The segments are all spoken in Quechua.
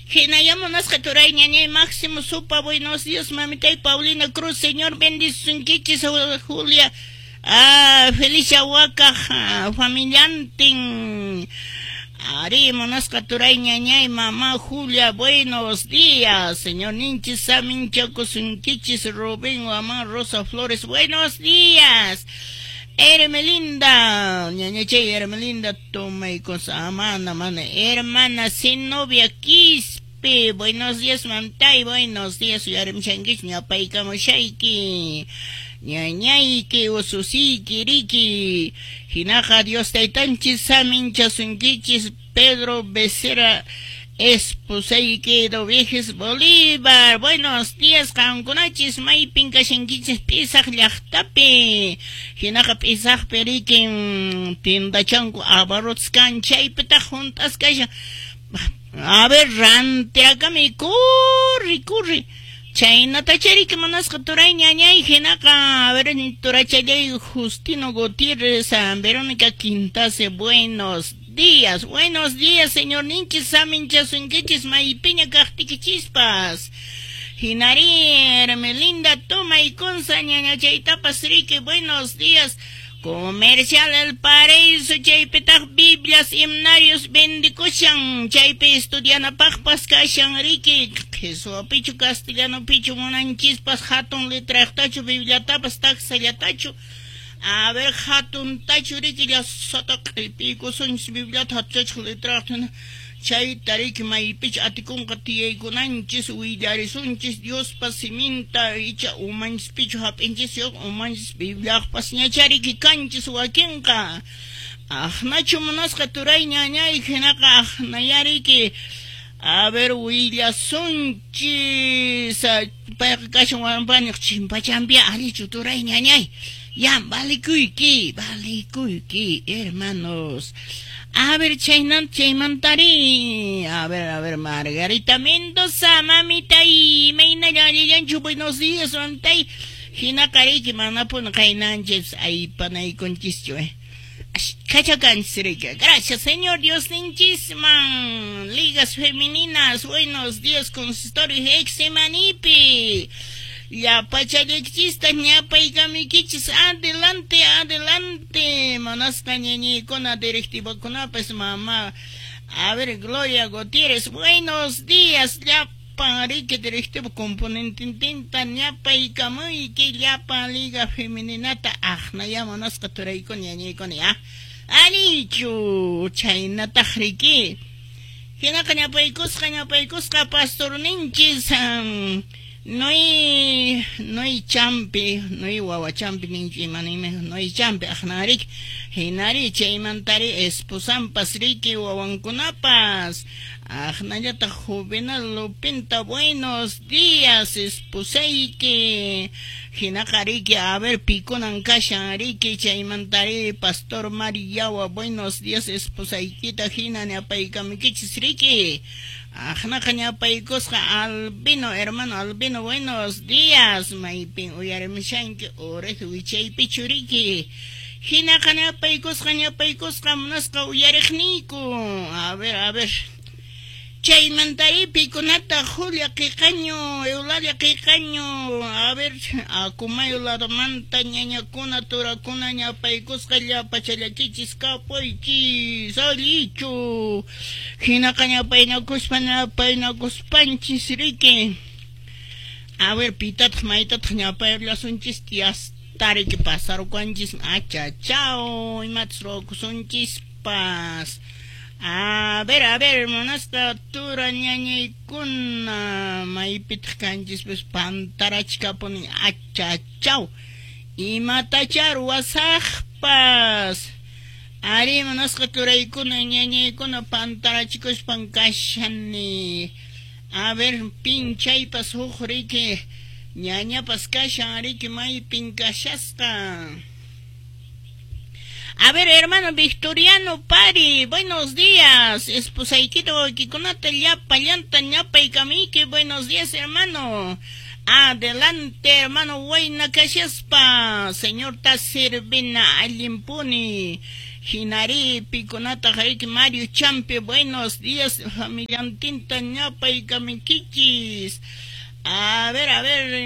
Hinaya munasqa turay ñañay Máximo Supa, buenos días, mamitay Paulina Cruz, Señor bendisunkichis, Julia, Felicia Wakaj, familiantin. Ari, munasqa turay ñañay mamá Julia, buenos días, Señor ninchis saminchakusunkichis, Rubén, mamá Rosa Flores, buenos días. Hermelinda, ñañachay Hermelinda, tomaycos, amana, mana, hermana Zenobia Quispe, buenos días, mamtay, buenos días, uyarimshankichu, ñapaykamushayki, ñañayki, ususiyki, riki, hinaqa Dios taytanchis saminchasunkichis, Pedro Becerra, esposayki Doviges Bolívar, buenos días, qankunachis, maypin kashankichis P'isaq llaqtapi, hinaqa P'isaqpi rikin tiendachanku abarrotes kan chaypitaq hunt'asqa kashan, a ver, rantirakami, corre, corre, chaynatacha riki munasqa turay ñañay, hinaqa, a ver, turachallay Justino Gutiérrez, Verónica Quintase, buenos días, señor ninchis saminchasunkichis maypiña kaqtikichispas. Hinari, Hermelinda, tomaykunsa ñañachaytapas riki, buenos días. Comercial El Paraíso, chaypitaq Biblias, himnarios vendikushan, chaypi estudianapaqpas kashan riki, qheswapichu castellanopichu munanchispas hatun letraqtachu Bibliatapas taksallatachu. A ver, hatuntachu riki llasata q'ipiykusunchis Bibliata hatuchachaq letraqta, chayta riki maypichu atikunqa tiyaykunanchis willarisunchis Diospa siminta icha umanchispichu hap'inchis yoq umanchis Bibliaqpas ñacha riki kanchis wakinqa. Aqnachu munasqa turay ñañay hinaqa aqnaya riki. A ver, willasunchis, payqa kashan wampaniq chimpachampiya allichu turay ñañay. Ya, valikuyki, valikuyki, hermanos. A ver, chaymantari. A ver, Margarita Mendoza, mamita y imaynalla allillanchu, buenos días, mamtay. Hinaqa riki manapuni qaynanchis aypanaykunchischu, Kachakanchis riki. Gracias, Señor Dios ninchisman. Ligas femeninas, buenos días, consistorio Hexemanipi. Llapachallaykichista ñapaykamiykichis, adelante, adelante, manasqa ñañaykuna directivakunapas, mamá. A ver, Gloria Gutiérrez, buenos días, llapan riki directivo componentintinta ñapaykamuyki, llapan liga femeninata, aqnaya manasqa turaykuna ñañaykuna, ya. Allichu, chaynataq riki. Hinaqa ñapaykusqa pastorninchis, Noy champi, noy wawa champi ninchu imanime, noy champi aqnariki, hinari chaymantari esposampas riki wawankunapas, aqnallataq Juvenal Lupinta, buenos días, esposayki, hinaqa riki, a ver, pikunan kashan riki, chaymantari pastor Mariyawa, buenos días, esposaykita hina ñapaykamukichis riki. Aqnaqa ñapaykusqa Albino, hermano Albino, buenos días, maypin uyarimushanki urej wichaypichu riki. Hinaqa ñapaykusqa munasqa uyariqniyku. A ver, a ver. Chaymantari pikunata Julia Qiqaño, Eulalia Qiqaño, a ver, Akumayo ladomanta ñañakuna turakuna ñapaykusqa llapachallakichis kapuychis, allichu. Hinaqa ñapaynakuspa ñapaynakuspanchis riki. A ver, pitataq maytataq ñapayllasunchis tiastariki pasarukanchis, achachao, imatas ruwakusunchispas. A ver, munasqa tura ñañaykuna, maypitaq kanchis pues pantarachkapuni, achachao, imatacha ruwasaqpas. Ari, munasqa turaykuna ñañaykuna pantarachikuspan kashani. A ver, pinchaypas huk riki, ñañapas kashan riki, maypin kashasqa. A ver, hermano Victoriano Pari, buenos días. Esposaykita wakikunata llapa llanta ñapaykamiyki, buenos días, hermano. Adelante, hermano, wayna kashaspa. Señor ta servina allinpuni. Hinari pikunataq riki Mario Champi, buenos días, familiantinta ñapaykaminkichis. A ver,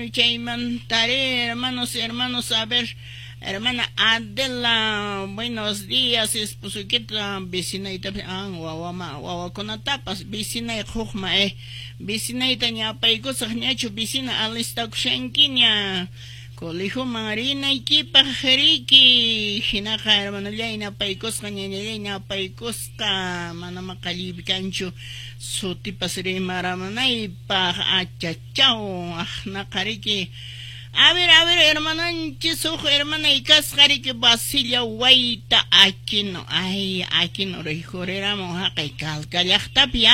chaymantaré, hermanos y hermanos, a ver, hermana Adela, buenos días, esposukita, vecinayta, wawama, wawakunatapas, vecinay hukma, vecinayta ñapaykusaq ñachu, vecina alistakushankiña, colegioman rinaykipaq riki, hinaqa hermanallay ñapaykusqa, ñañallay ñapaykusqa, mana maqalliypi kanchu, sutipas rimaramunaypaq, achachaw, aqnaqa riki. A ver, hermananchis, huk hermanay kasqa riki Basilia Wayta Aquino, ay, Aquino rikhuriramun haqay Calca llaqtapi,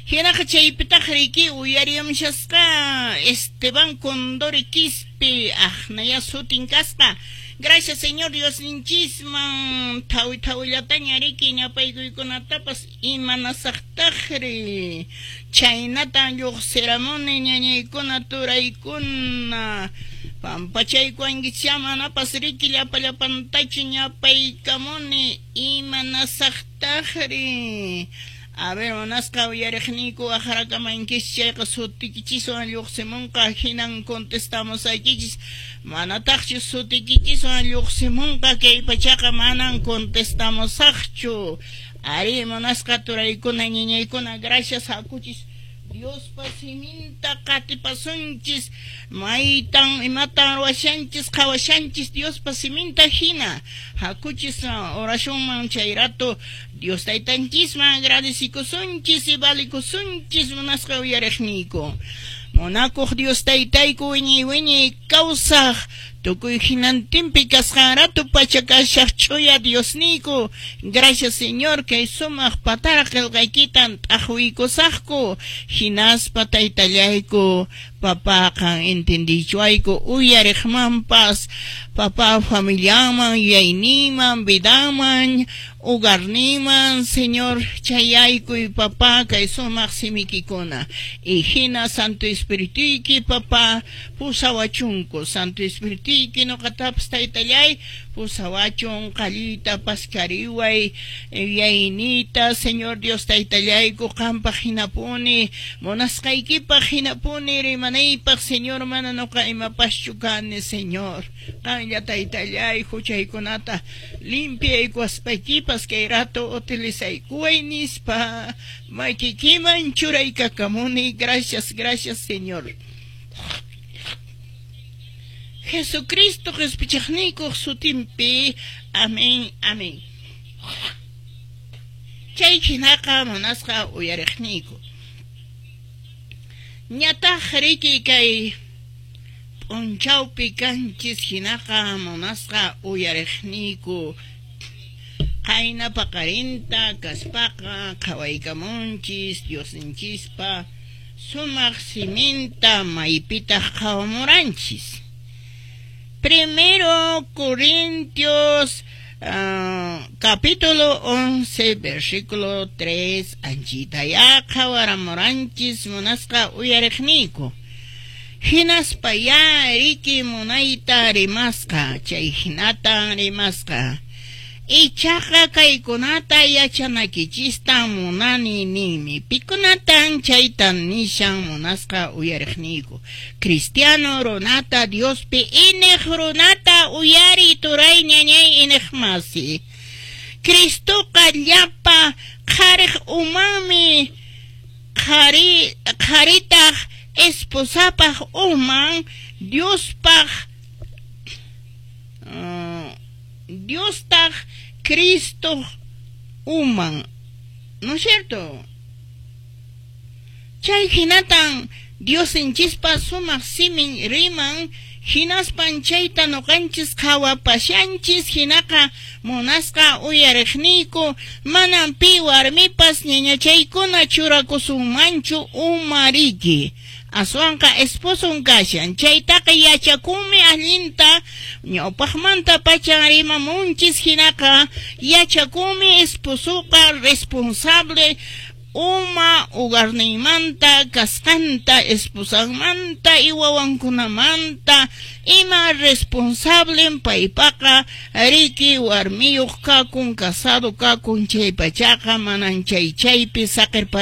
Hinaqa chaypitaq riki uyariamshasqa Esteban Condori Quispe, aqnaya sutin kasqa. Gracias, Señor Diosninchisman, thawi thawillataña riki ñapaykuykunatapas imanasaqtaqri. Chaynatan lluqsiramuni ñañaykuna turaykuna. Pampachaykuwankichá manapas riki llapa llapantachu ñapaykamuni imanasaqtaqri. A ver, munasqa uyariqniyku aqrakamankichis chayqa sutikichiswan lluqsimunqa hinan contestamusaykichis. Manataqchu sutikichiswan lluqsimunqa kay pachaqa manan contestamusaqchu. Ari, munasqa turaykuna ñañaykuna, gracias hakuchis. Diospa siminta qatipasunchis, maytan imatan ruwashanchis qhawashanchis Diospa siminta hina. Hakuchis oracionman chay rato Dios taytanchisman agradecikusunchis y valikusunchis munasqa uyariqniyku. Munakuq Dios taytayku wiñay wiñay kawsaq tukuy hinantinpi kasqan rato pacha kashaq ch'uya Diosniyku. Gracias, Señor, kay sumaq patara qillqaykitan t'aqwiykusaqku. Hinaspa taytallayku, papaqan entendichuayku uyariqmanpas, papá familiaman, yuyayniyman, vidaman, hogarniman, Señor, chayaykuy papá kay sumaq simikikuna. Y hina Santo Espirituyki, papá, pusawachunku. Santo Espirituyki nuqatapas taytallay, pusawachun qalluyta paskariway, yuyayniyta, Señor Dios taytallayku, qampaq hinapuni, munasqaykipaq hinapuni rimanaypaq, Señor, mana nuqa imapaschu kani, Señor. Qanlla taytallay huchaykunata limpiaykuwaspaykipas kay rato utilizaykuway nispa makikiman churaykakamuni. Gracias, gracias, Señor. Jesucristo qhispichaqniykuq sutinpi. Amén, amén. Chay hinaqa munasqa uyariqniyku. Ñataq riki kay p'unchawpi kanchis hinaqa munasqa uyariqniyku. Qayna paqarinta kaspaqa qhawaykamunchis Diosninchispa sumaq siminta maypitaq qhawamuranchis. Primero Corintios capítulo 11, versículo 3, anchitaya qhawaramuranchis munasqa uyariqniyku. Hinaspa ya riki munayta rimasqa, chay hinatan rimasqa. Ichaqa kaykunata yachanakichistan munani ninmi. Pikunatan chaytan nishan munasqa uyariqniyku. Cristiano runata Diospi iniq runata uyari turay ñañay iniq masi. Cristoqa llapa qhariq umanmi, qharitaq esposapaq uman, Diospaq Diostaq Cristo uman, ¿no es cierto? Chay hinatan Diosninchispa sumaq simin riman, hinaspan chayta nuqanchis qhawapashanchis, hinaqa munasqa uyariqniyku, manan pi warmipas ñañachaykuna churakusunmanchu umariki. Aswanqa esposon kashan, chaytaqa yachakunmi allinta, ñawpaqmanta pachan rimamunchis, hinaqa yachakunmi esposoqa responsable Uma hogarninmanta, kasqanta, esposanmanta y wawankunamanta ima responsable paypaqa, riki, warmiyuq kakun, casado kakun chaypachaqa manan chay chaypi saqirpa.